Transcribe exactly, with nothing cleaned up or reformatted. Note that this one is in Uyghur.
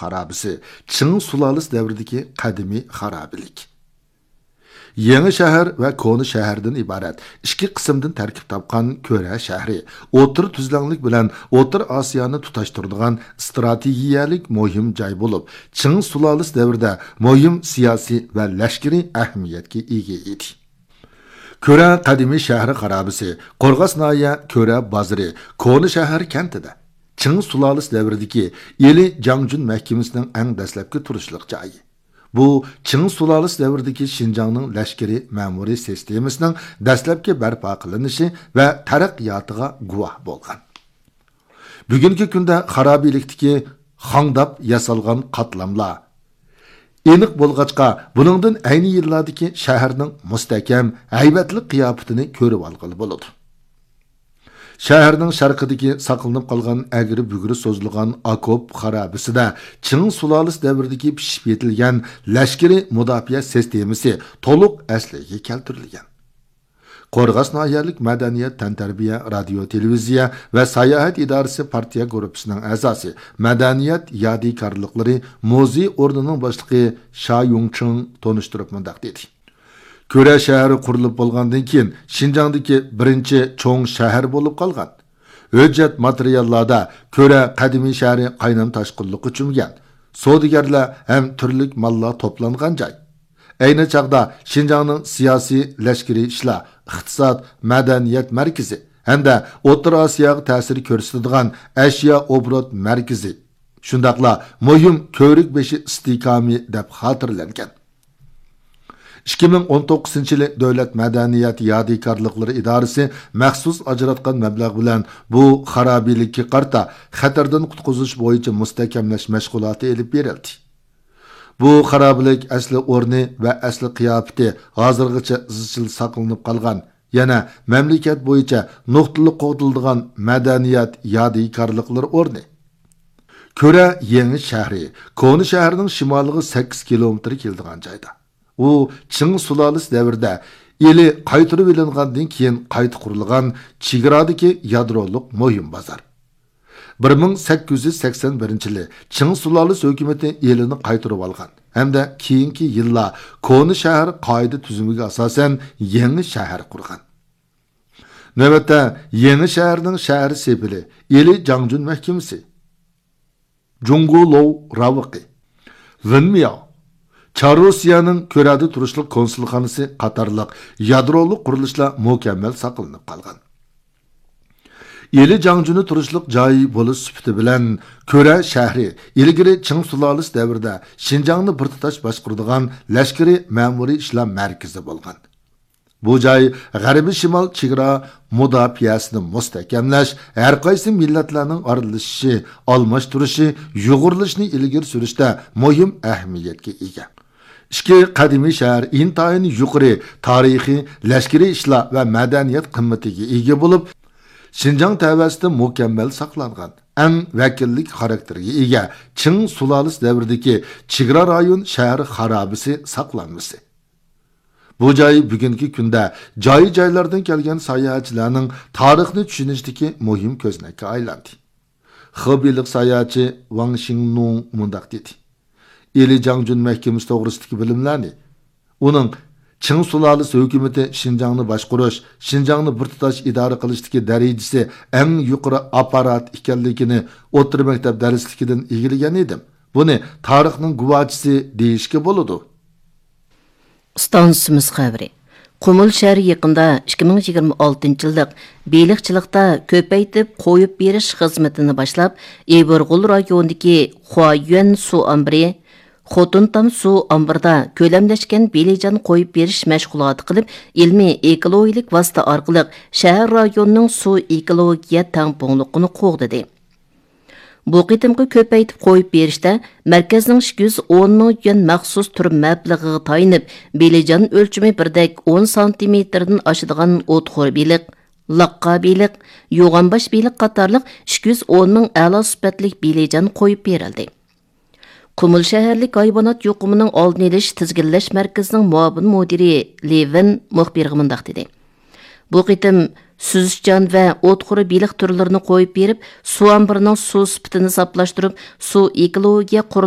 خارابىسى، چىڭ سۇلالىسى دەۋرىدىكى قەدىمىي خارابىلىك. يېڭى شەھەر ۋە كونا شەھەردىن ئىبارەت ئىككى قىسىمدىن تەركىب تاپقان كۆرە شەھىرى ئوتتۇرا تۈزلەڭلىك بىلەن ئوتتۇرا ئاسىيانى تۇتاشتۇرىدىغان ئىستراتېگىيەلىك مۇھىم جاي بولۇپ، چىڭ سۇلالىسى دەۋرىدە مۇھىم سىياسىي ۋە لەشكىرىي ئەھمىيەتكە ئىگە ئىدى. كۆرە قەدىمىي شەھىرى خارابىسى، قورغاس ناھىيە كۆرە بازىرى، كونا شەھەر كەنتىدە چىڭ سۇلالىسى دەۋرىدىكى ئىلى جاڭجۈن مەھكىمىسىنىڭ ئەڭ دەسلەپكى تۇرۇشلۇق جايى. بۇ چىڭ سۇلالىسى دەۋرىدىكى شىنجاڭنىڭ لەشكىرىي مەمۇرىي سىستېمىسىنىڭ دەسلەپكى بەرپا قىلىنىشى ۋە تەرەققىياتىغا گۇۋاھ بولغان. بۈگۈنكى كۈندە خارابىلىكتىكى خاڭداپ ياسالغان قاتلاملار ئېنىق بولغاچقا، بۇنىڭدىن ئەينى يىللاردىكى شەھەرنىڭ مۇستەھكەم، ھەيۋەتلىك قىياپىتىنى كۆرۈۋالغىلى بولىدۇ. شەھەرنىڭ شەرقىدىكى ساقلىنىپ قالغان ئەگرى-بۈگرى سوزۇلغان ئاكوپ خارابىسىدە چىڭ سۇلالىسى دەۋرىدىكى پىشىپ يېتىلگەن لەشكىرىي مۇداپىئە سىستېمىسى تولۇق ئەسلىگە كەلتۈرۈلگەن. قورغاس ناھىيەلىك مەدەنىيەت تەنتەربىيە رادىيو تېلېۋىزىيە ۋە ساياھەت ئىدارىسى پارتىيە گۇرۇپپىسىنىڭ ئەزاسى، مەدەنىيەت يادىكارلىقلىرى مۇزېي ئورنىنىڭ باشلىقى شا يۇڭچىڭ تونۇشتۇرۇپ مۇنداق دېدى: كۆرە شەھىرى قۇرۇلۇپ بولغاندىن كېيىن، شىنجاڭدىكى بىرىنچى چوڭ شەھەر بولۇپ قالغان. ھۆججەت ماتېرىياللاردا كۆرە قەدىمىي شەھىرى قاينام تاشقىنلىققا چۆمگەن، سودىگەرلەر ھەم تۈرلۈك ماللار توپلانغان جاي. ئەينى چاغدا شىنجاڭنىڭ سىياسىي، لەشكىرىي ئىشلار، ئىقتىساد، مەدەنىيەت مەركىزى ھەمدە ئوتتۇرا ئاسىياغا تەسىر كۆرسىتىدىغان ئەشيا ئوبوروت مەركىزى، شۇنداقلا مۇھىم كۆۋرۈك بېشى ئىستىھكامى دەپ خاتىرىلەنگەن. ئىككى مىڭ ئون توققۇزىنچى يىلى دۆلەت مەدەنىيەت يادىكارلىقلىرى ئىدارىسى مەخسۇس ئاجراتقان مەبلەغ بىلەن بۇ خارابىلىككە قارىتا خەتەردىن قۇتقۇزۇش بويىچە مۇستەھكەملەش مەشغۇلاتى ئېلىپ بېرىلدى. بۇ خارابىلىك ئەسلى ئورنى ۋە ئەسلى قىياپىتى ھازىرغىچە ئىزچىل ساقلىنىپ قالغان، يەنە مەملىكەت بويىچە نۇقتىلىق قوغدىلىدىغان مەدەنىيەت يادىكارلىقلىرى ئورنى. كۆرە يېڭى شەھىرى كونا شەھەرنىڭ شىمالىغا سەككىز كىلومېتىر كېلىدىغان جايدا. ئۇ چىڭ سۇلالىسى دەۋرىدە ئىلى قايتۇرۇۋېلىنغاندىن كېيىن قايتا قۇرۇلغان چېگرادىكى يادرولۇق مۇھىم بازار. بىر مىڭ سەككىز يۈز سەكسەن بىرىنچى يىلى چىڭ سۇلالىسى ھۆكۈمىتى ئىلىنى قايتۇرۇۋالغان ھەمدە كېيىنكى يىللار كونا شەھەر قائىدە تۈزۈمىگە ئاساسەن يېڭى شەھەر قۇرغان. نۆۋەتتە يېڭى شەھەرنىڭ شەھەر سېپىلى ئىلى جاڭجۈن مەھكىمىسى، جۇڭگو لوۋ راۋىقى، ۋېنمياۋ، چاررۇسىيەنىڭ كۆرەدە تۇرۇشلۇق كونسۇلخانىسى قاتارلىق يادرولۇق قۇرۇلۇشلار مۇكەممەل ساقلىنىپ قالغان. ئىلى جاڭجۈنى تۇرۇشلۇق جاي بولۇش سۈپىتى بىلەن، كۆرە شەھىرى ئىلگىرى چىڭ سۇلالىسى دەۋرىدە شىنجاڭنى بىر تۇتاش باشقۇرىدىغان لەشكىرىي مەمۇرىي ئىشلار مەركىزى بولغان. بۇ جاي غەربىي شىمال چېگرا مۇداپىئەسىنى مۇستەھكەملەش، ھەرقايسى مىللەتلەرنىڭ ئارىلىشىشى، ئالماشتۇرۇشى، يۇغۇرۇلۇشىنى ئىلگىرى سۈرۈشتە مۇھىم ئەھمىيەتكە ئىگە. ئىككى قەدىمىي شەھەر ئىنتايىن يۇقىرى تارىخىي، لەشكىرىي ئىشلار ۋە مەدەنىيەت قىممىتىگە ئىگە بولۇپ، شىنجاڭ تەۋەسىدە مۇكەممەل ساقلانغان، ئەڭ ۋەكىللىك خاراكتېرىگە ئىگە چىڭ سۇلالىسى دەۋرىدىكى چېگرا رايون شەھەر خارابىسى ساقلانمىسى. بۇ جاي بۈگۈنكى كۈندە جاي-جايلاردىن كەلگەن ساياھەتچىلەرنىڭ تارىخنى چۈشىنىشىدىكى مۇھىم كۆزنەككە ئايلاندى. خېبېيلىق ساياھەتچى ۋاڭ شىڭنۇڭ مۇنداق دېدى: ئىلى جاڭجۈن مەھكىمىسى توغرىسىدىكى بىلىملەرنى، ئۇنىڭ چىڭ سۇلالىسى ھۆكۈمىتى شىنجاڭنى باشقۇرۇش، شىنجاڭنى بىر تۇتاش ئىدارە قىلىشتىكى دەرىجىسى ئەڭ يۇقىرى ئاپپارات ئىكەنلىكىنى ئوتتۇرا مەكتەپ دەرسلىكىدىن ئىگىلىگەن ئىدىم. بۇنى تارىخنىڭ گۇۋاھچىسى دېيىشكە بولىدۇ. ئىستانسىمىز خەۋىرى. قۇمۇل شەھىرى يېقىندا ئىككى مىڭ يىگىرمە ئالتىنچى يىللىق بېلىقچىلىقتا كۆپەيتىپ قويۇپ بېرىش خىزمىتىنى باشلاپ، ئىبىرغول رايونىدىكى خۇايۈەن سۇ ئامبىرى، خوتۇنتام سۇ ئامبىرىدا كۆلەملەشكەن بېلىجان قويۇپ بېرىش مەشغۇلاتى قىلىپ، ئىلمىي ئېكولوگىيەلىك ۋاسىتە ئارقىلىق شەھەر رايونىنىڭ سۇ ئېكولوگىيە تەڭپۇڭلۇقىنى قوغدىدى. بۇ قېتىمقى كۆپەيتىپ قويۇپ بېرىشتە مەركەزنىڭ ئىككى يۈز ئون مىڭ يۈەن مەخسۇس تۈر مەبلىغىغا تايىنىپ، بېلىجان ئۆلچىمى بىردەك ئون سانتىمېتىردىن ئاشىدىغان ئوتخور بېلىق، لاققا بېلىق، يوغانباش بېلىق قاتارلىق ئىككى يۈز ئون مىڭ ئەلا سۈپەتلىك بېلىجان قويۇپ بېرىلدى. قۇمۇل شەھەرلىك ھايۋانات يۇقۇمىنىڭ ئالدىنى ئېلىش تىزگىنلەش مەركىزىنىڭ مۇئاۋىن مۇدىرى لېۋىن مۇخبىرغا مۇنداق دېدى: بۇ قېتىم سۈزۈشچان ۋە ئوتخور بېلىق تۈرلىرىنى قويۇپ بېرىپ، سۇ ئامبىرىنىڭ سۇ سۈپىتىنى ساپلاشتۇرۇپ، سۇ ئېكولوگىيە قۇرۇلۇشى